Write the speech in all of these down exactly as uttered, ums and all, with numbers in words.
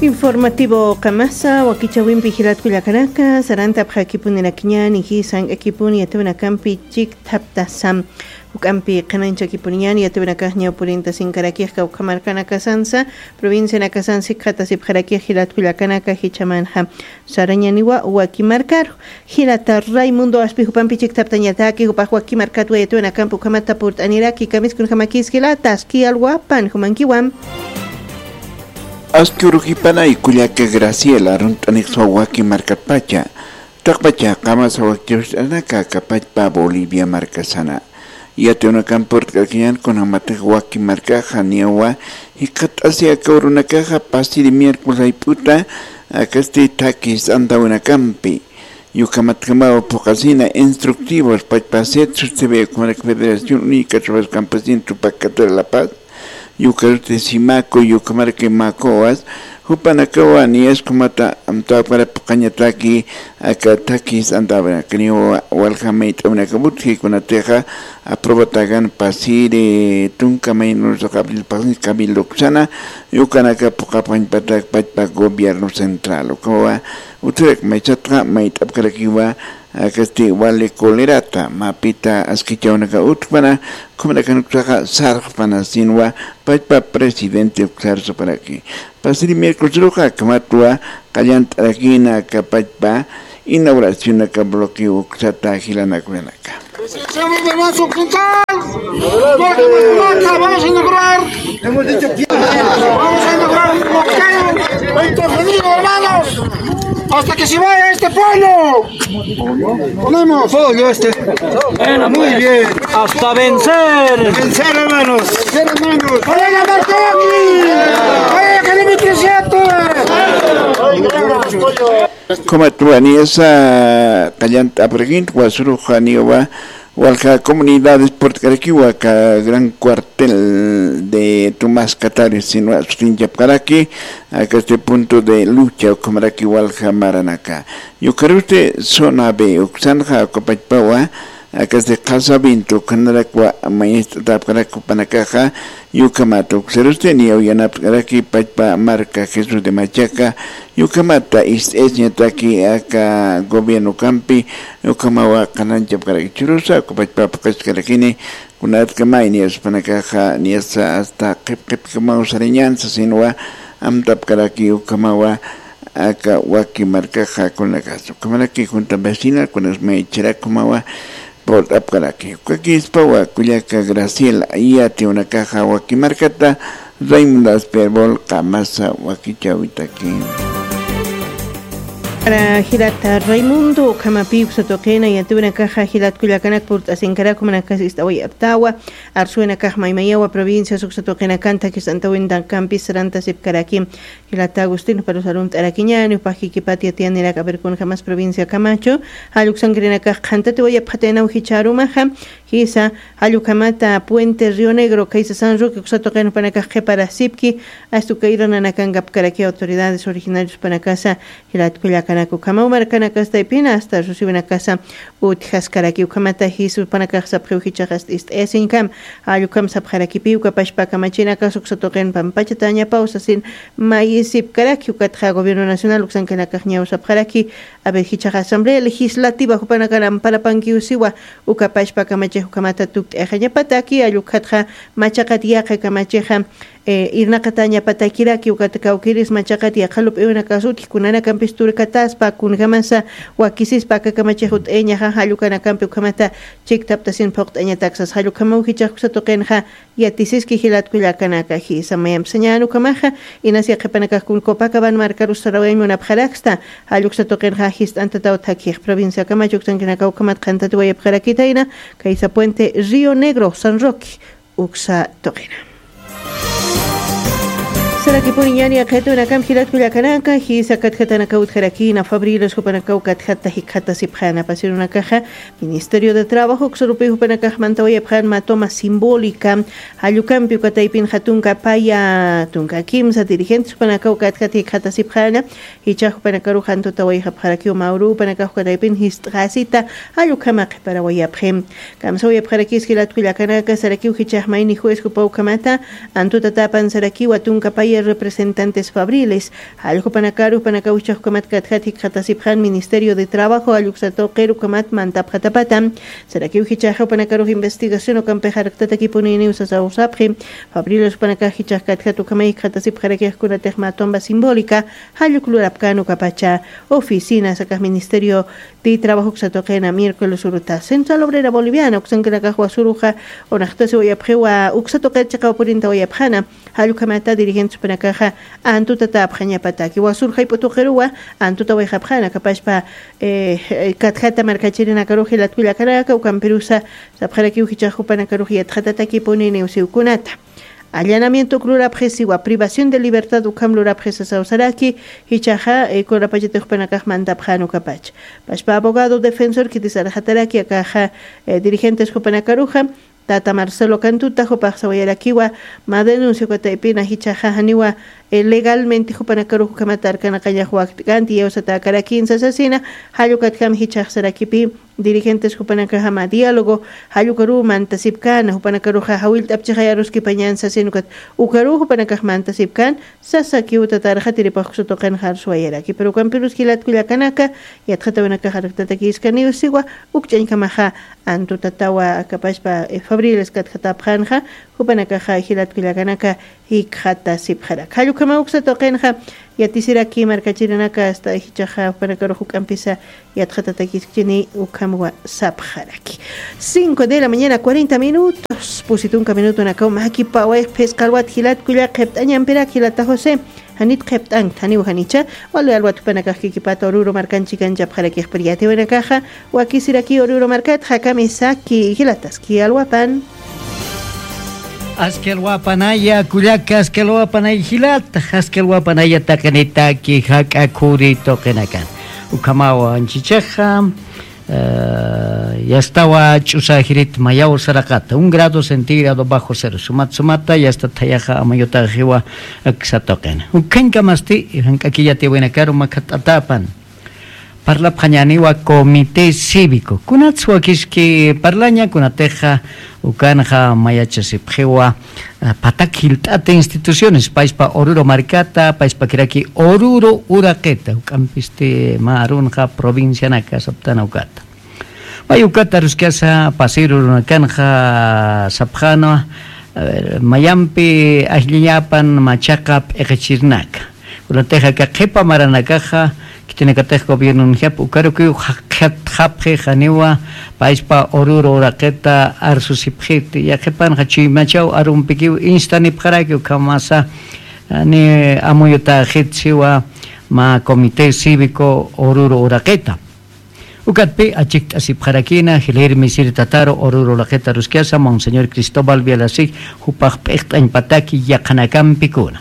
Informativo qamasa, wakichawimpi jilatkullakanaka, sarantapxakipunirakiñani, jisank'akipuni yatiwinakampi chikthaptasam. Juk'ampi qhanañchakipuniñani, yatiwinakax ñawpurintasinkarakix kawkhamarkanakasansa, provincianakasansi qhatasipxarakix jilatkullakanaka jichamanxa. Sarañaniwa waki markaru. Jilata Raimundo aspi jupampi chikthaptañataki, jupax waki markat wayatuwinakampi ukhamata purt'aniraki, kamiskunjamakis jilata, aski alwapan, jumankiwam. Aski urujipanay kullaka Graciela, runt'anixswa waki markatpacha. Taqpacha qamasa wakichawist'anaka kapachpa Bolivia markasana. Yatiwinakampi purt'arkiñan kunjamatix waki markaxa niyawa, jikxat'asi aka urunakaxa pasiri miércoles ayp'uta, akasti thakis antawinakampi. Yukhamatjamawa phuqasina instructivos pachpa set sustebe ukhamaraki Federación Única Trabajadores Campesinos Tupac Catedral La Paz, yukarusti Simaco, yukhamaraki Macoas, jupanakawa niyaskumata amtawapara phuqañataki aka thakis antawinakaniwa walja mayt'awinakaput jikunatixa aprobatagan pasiri tunka maynusax abril pasin cabildo uksana, yukanaka phuqapxañpatak pachpa gobierno central. Ukawa utjarak maychatxa mayt'apkarakiwa akasti wali colerata, mapita askichawnaka utjpana, ukhamarakan uksaxa sarxpana sinwa pachpa presidente uksar saparaki. Pasiri miércoles ruxa, akhamatwa qallant'arakina aka pachpa inauguracionaka bloqueo uksata jilanakunanaka. Señor de Mazo Quintal, vamos a inaugurar, vamos a inaugurar un bloqueo, intervenido, hermanos, hasta que se vaya este pueblo. Ponemos pollo este. Bueno, muy bien. Hasta vencer. Vencer, hermanos. Vencer, hermanos. ¡Vaya la marca aquí! ¡Vaya kilómetro siete! Como tú venías a Callanta, por ejemplo, Guasuruja, Niuba, walja comunidades purt'karakiwa aka gran cuartel de Tomás Catari sinwa sutinchapkaraki, aka este punto de lucha ukhamaraki walja maranaka. Yukarusti zona B uksanxa ukapachpawa, aka este qhasa vinto ukhanarakwa mañast'atapkaraki jupanakaxa, yukhamata uksarusti niyaw yanapt'karaki pachpa marka Jesús de Machaca, yukhamata ist'ayasiñataki aka gobierno kampi, yukhamawa qhananchapkaraki churusa, ukapachpa phuqaskarakini, kunatkamay niyaspanakaxa, niyasa hasta qhip qhipkamaw sarañansa sinwa, amtapkaraki ukhamawa, aka waki markaxa kunakasa. Ukhamaraki junta vecina, kunas maychharak ukhamawa, purt'apkaraki. Ukakispawa kullaka Graciela, yatiwanakaxa waki markata, Raimundo Asperbol, qamasa wakichawitaki. Para jilata Raimundo, ukhamapi uksa tuqina, yatiwanakaxa jilat kullakanak purt'asinkaraku, manakas ist'away aptawa, arsuwinakax maymayawa provincias uksa tuqinakan thakis antawinakampis sarantasipkaraki. Jilata Agustín, juparu sarunt'arakiñani, jupax kikipat yatiyaniraki a ver kunjamas provincia Camacho, jall uksankirinakax qhantatiwayapxataynaw jichharumaxa, jisa, jall ukhamata Puente Río Negro, khaysa San Roque, uksa tuqin jupanakax qhiparasipki, astu kayra nanakankapkaraki autoridades originarios jupanakasa, jilat kullakanaka ukhamaw markanakastaypina, hasta rusiwinakasa, utjaskaraki ukhamata jisa jupanakax sapxiw jichhax hasta ist'ayasiñkam, jall ukham sapxarakipi ukapachpa kamachinakas uksa tuqin pampachatañapaw sasin mayisipkaraki, ukatxa gobierno nacional uksankinakax ñaw sapxaraki, a ver, jichhax asamblea legislativa jupanakan amparapankiw siwa, ukapachpa kamachix ukhamata tukt'ayaxañapataki, jall ukatxa machaqat yaqha kamachixa, eh, irnaqatañapatakiraki, ukat kawkiris machaqat yaqha lup'iwinakas utji kunanakampis turkataspa, kunjamasa wakisispa aka kamachix ut'ayañaxa, jall ukanakampi ukhamata chiktaptasin phuqt'añatak sas, jall ukhamaw jichhax uksa tuqinxa, yatisiski jilat kullakanaka, jisa mayamp sañän ukhamaxa, inas yaqhipanakax kun Copacabana markarus sarawayañ munapxaraksta, jall uksa tuqinxa jist'antataw thakix provincia Camacho uksankinakaw ukhamat qhantatiwayapxarakitayna, khaysa Puente Río Negro, San Roque, uksa tuqina. Sarakipuniñani yaqhitunakamp jilat kullakanaka, jisa katjatanakaw utjarakina, Fabriles jupanakaw katjata jikxatasipxäna, pasirunakaxa, Ministerio de Trabajo uksarupi jupanakax mantawayapxän mä toma simbólica, jall ukampi uka taypinxa tunka paya, tunka kimsa dirigentes jupanakaw katjata jikxatasipxäna, jichhax jupanakarux antutawayxapxarakiw mä uruw jupanakax uka taypin jist'xäsita, jall ukhama qhiparawayapxi. Kamsawayapxarakis jilat kullakanaka, sarakiw jichhax mayni juez jupaw ukhamata, antutatapan sarakiwa tunka paya representantes Fabriles, jallkupanakaru jupanakaw jichhax ukhamat katjat jikxatasipxan Ministerio de Trabajo jalluksa tuqir ukhamat mantapxatapata. Sarakiw jichhaxa jupanakarux investigación ukampix arktatakipuniniw sasaw sapxi. Fabriles jupanakax jichhax katjat ukhamay jikxatasipxarakix kunatix mä tumba simbólica jalluk lurapkän ukapacha oficinas akax Ministerio de Trabajo uksa tuqina miércoles uruta. Central Obrera Boliviana uksankanakax wasuruxa unaxtasi wayapxiwa uksa tuqir chiqaw purinta wayapxana. Jallukhamata dirigentes jupanakaxa antuta tapxañapataki wasur jayp'u tuqiruwa antuta wayxapxana kapashpa, eh, katjata markachirinakaruxi latkullakanaka ukampirusa sapxarakiw jichhax jupanakarux yatxatatakipuni niwsiwkunata. Allanamiento uklurapxisiwa privación de libertad ukham lurapxisa sawsaraki. Jichhaxa, eh, kunapachatix jupanakax mantapxan ukapacha. Pashpa abogado defensor khitisarxataraki akaxa, eh, dirigentes jupanakaruxa tata Marcelo Cantuta jupax sawayarakiwa mä denuncia ukataypina jichhaxa janiwa, eh, legalmente jupanakarux ukhamat arkanaqañax wakt'känti yawsatäkarakin sasasina. Jallukatjam jichhax sarakipi dirigentes jupanakaxa mä diálogo jallukaruw mantasipkän jupanakaruxa jawillt'apchixay aruskipañän sasin ukat ukaruw jupanakax mantasipkän. Sasakiw tatarxa tiripax uksa tuqinxa arsuwayaraki pero ukampirus jilat kullakanaka yatxatawinakax arktatakiskaniw siwa. Ukch'añkamaxa antutatawa akapashpa, eh, fabriles katjatapxanxa jupanakaxa jilat kullakanaka jikxatasipxaraka jallukhamaw uksa tuqinxa. Yatisiraki markachirinaka asta jichhaxa jupanakarux juk'ampisa yatxatatakiskchini ukhamwa sapxaraki. Cinco de la mañana cuarenta minutos pusi tunka minutonakaw makipawayx phisqa alwat jilat kulla qhipt'añampirak jilata josé. Janit qhipt'ankt janiw janicha wali alwat jupanakax kikipata ururu markanchikanchapxarakixpir yatiwanakaxa. Wakisiraki ururu markat jakamisaki jilataski alwapan. Aski alwapanaya kullaka aski alwapanaya jilata aski alwapanaya taqinitaki jak'a khuri tuqinakan. Ukhamawa anchichaxa yastawa ch'usa jirit mayaw saraqata un grado centígrado bajo cero sumat sumata yasta thayaxa amayutaxiwa. Aksa tuqina ukhañkamasti jank'akiyatiwinakaru makhat'atapan. Parlapxañaniwa comité cívico kunats wakiski parlaña kunatixa ukanxa mayachasipxiwa. Patak jilt'ata instituciones payspa oruro markata payspakiraki oruro uraqita juk'ampisti mä arunxa provincianaka saptana ukata. May ukata aruskasa pasiru runakanxa sapxana mayampi ajllañapan machaqa p'iqichirnaka. Kunatixa aka qhipa maranakaxa khitinakatix gobiernonjap ukarukiw jaqjatxapxi janiwa payspa ururu uraqita arsusipxiti yaqhipanxa chuymachaw arumpikiw instanipxaraki ukhamasa. Ni amuyutaxit siwa mä comité cívico ururu uraqita. Ukatpi achikt'asipxarakina jilirmi siri tataru ururu uraqita aruskasa monseñor cristóbal vialasik jupax p'iqt'añpataki yaqhanakampikuna.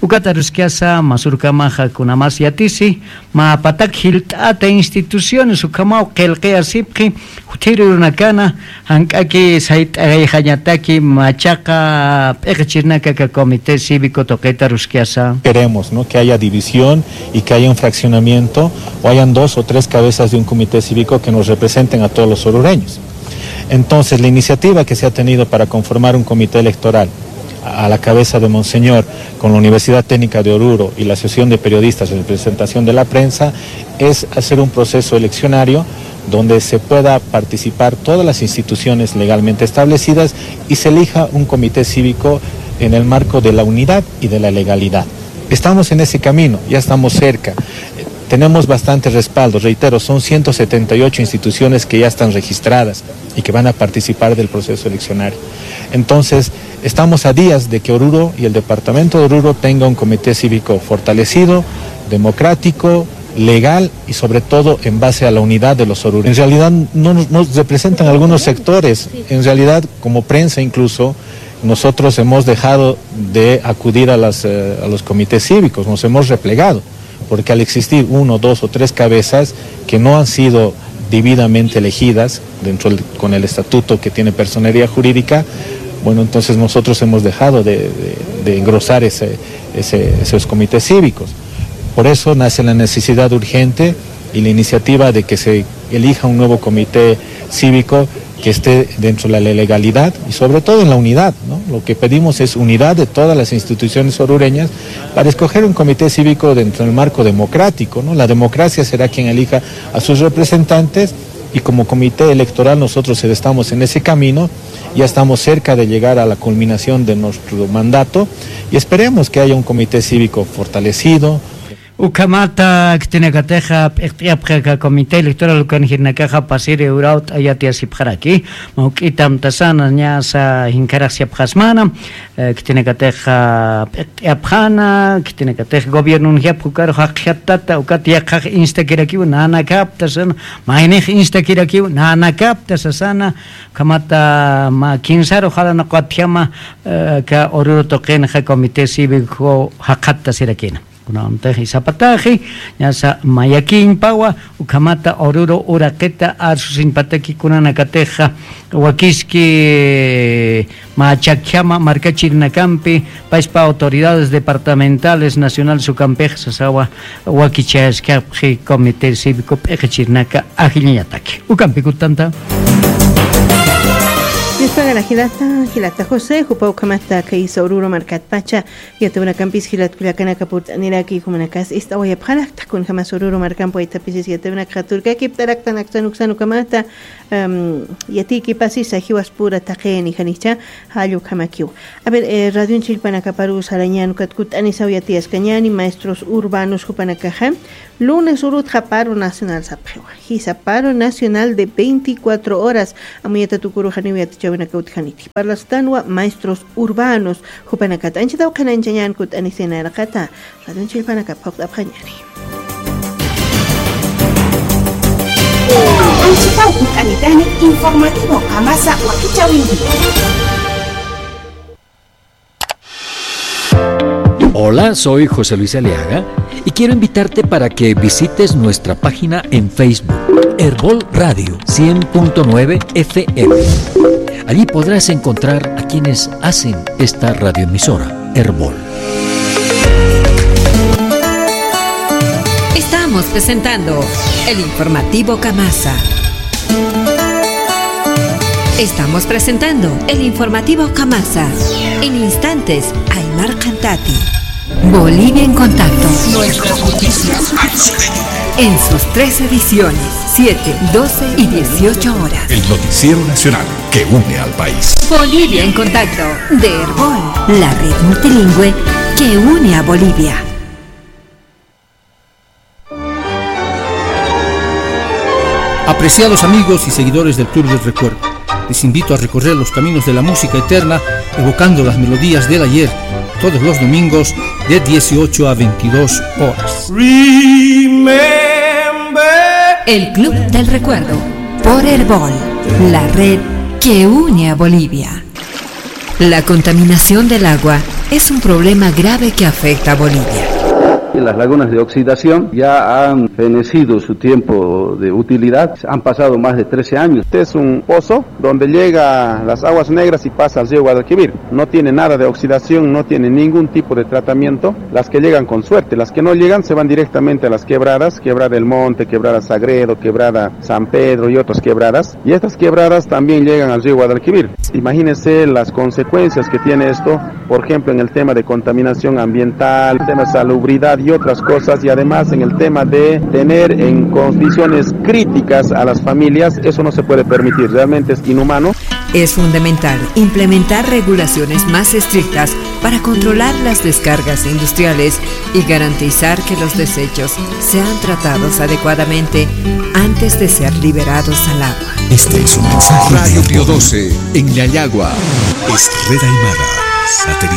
Ukat aruskasa masurkamaxa kunamas yatisi mä patak jilt'ata instituciones ukhamaw qillqiyasipxi. Juthiru runakana jank'aki sayt'ayxañataki machaqa p'iqichirnaka aka comité cívico tuqita aruskasa. Queremos, ¿no? Que haya división y que haya un fraccionamiento o hayan dos o tres cabezas de un comité cívico que nos representen a todos los orureños. Entonces la iniciativa que se ha tenido para conformar un comité electoral a la cabeza de monseñor con la universidad técnica de oruro y la asociación de periodistas en representación de la prensa es hacer un proceso eleccionario donde se pueda participar todas las instituciones legalmente establecidas y se elija un comité cívico en el marco de la unidad y de la legalidad. Estamos en ese camino, ya estamos cerca. Tenemos bastante respaldo, reitero, son ciento setenta y ocho instituciones que ya están registradas y que van a participar del proceso eleccionario. Entonces, estamos a días de que Oruro y el departamento de Oruro tenga un comité cívico fortalecido, democrático, legal y sobre todo en base a la unidad de los orureños. En realidad no nos, nos representan algunos sectores, en realidad como prensa incluso nosotros hemos dejado de acudir a, las, eh, a los comités cívicos, nos hemos replegado, porque al existir uno, dos o tres cabezas que no han sido debidamente elegidas dentro del, con el estatuto que tiene personería jurídica, bueno, entonces nosotros hemos dejado de, de- de engrosar ese- ese- esos comités cívicos. Por eso nace la necesidad urgente y la iniciativa de que se elija un nuevo comité cívico que esté dentro de la legalidad y sobre todo en la unidad, ¿no? Lo que pedimos es unidad de todas las instituciones orureñas para escoger un comité cívico dentro del marco democrático, ¿no? La democracia será quien elija a sus representantes y como comité electoral nosotros estamos en ese camino, ya estamos cerca de llegar a la culminación de nuestro mandato y esperemos que haya un comité cívico fortalecido. Ukhamata khitinakatixa p'iqt'iyapxi aka comité electoral ukan jirinakaxa pasiri urawt'a yatiyasipxaraki, mawk'ita amtasana ñasa jinkharajsiyapxasmana, eh, khitinakatixa p'iqt'iyapxana, khitinakatix gobiernon jiapxi ukaru jaqjatata, ukat yaqhax instakirakiw nanakapta sasana, maynix instakirakiw nanakapta sasana, ukhamata mä kinsaru jalanaqwatjama, eh, aka Oruro tuqinxa comité cívico jaqhattasirakina. Kunantaxi sapataxi, ñasa mayakiñpawa, ukhamata Oruro uraqita arsusiñpataki kunanakatixa, wakiski mä chakjama markachirinakampi, payspa autoridades departamentales, nacionales ukampix sasawa, wakichayaskapxi comité cívico p'iqichirinaka ajilliñataki. Ukampi kutanta. Dios pagará jilata, jilata José, jupa ukhamata kaysa Oruro markatpacha, yatawinakampis jilat kullakanaka purt'aniraki, jumanakas ist'awayapxarakta, kunjamas Oruro markampi waythapisis yatawinakxa turkakiptaraktan aksan uksan ukhamata, em, yatiykipasisa jiwaspura taqini janicha, jall ukhamakiw. A ver, eh, radionchillpanakaparu sarañan ukat kut'anisaw yatiyaskañani, maestros urbanos jupanakaxa, lunes urutxa paro nacional sapxiwa. Jisa paro nacional de veinticuatro horas, amuyata tukuru janiw yatichäwinaka utjaniti. Parlastanwa maestros urbanos, jupanakat anchitaw qhanañchañan kut'anisinaraqata, radionchillpanakap phuqt'apxañani. Anchitaw kut'anitani informativo Qamasa wakichäwinti. Hola, soy José Luis Aliaga y quiero invitarte para que visites nuestra página en Facebook, Erbol Radio cien punto nueve F M. Allí podrás encontrar a quienes hacen esta radioemisora, Erbol. Estamos presentando el informativo Qamasa. Estamos presentando el informativo Qamasa. En instantes, Aymar Cantati. Bolivia en contacto. Nuestras noticias al sueño. En sus tres ediciones, siete, doce y dieciocho horas. El noticiero nacional que une al país. Bolivia en contacto, de Erbol, la red multilingüe que une a Bolivia. Apreciados amigos y seguidores del Club del Recuerdo, les invito a recorrer los caminos de la música eterna, evocando las melodías del ayer, todos los domingos de dieciocho a veintidós horas. Remember. El Club del Recuerdo, por Erbol, la red que une a Bolivia. La contaminación del agua es un problema grave que afecta a Bolivia. Las lagunas de oxidación ya han fenecido su tiempo de utilidad, han pasado más de trece años. Este es un pozo donde llega las aguas negras y pasa al río Guadalquivir. No tiene nada de oxidación, no tiene ningún tipo de tratamiento. Las que llegan con suerte, las que no llegan se van directamente a las quebradas, Quebrada del Monte, Quebrada Sagredo, Quebrada San Pedro y otras quebradas. Y estas quebradas también llegan al río Guadalquivir. Imagínense las consecuencias que tiene esto, por ejemplo, en el tema de contaminación ambiental, tema de salubridad y otras cosas, y además en el tema de tener en condiciones críticas a las familias, eso no se puede permitir, realmente es inhumano. Es fundamental implementar regulaciones más estrictas para controlar las descargas industriales y garantizar que los desechos sean tratados adecuadamente antes de ser liberados al agua. Este es un mensaje. Radio Pío doce, en Yayagua. Es Red Aymara.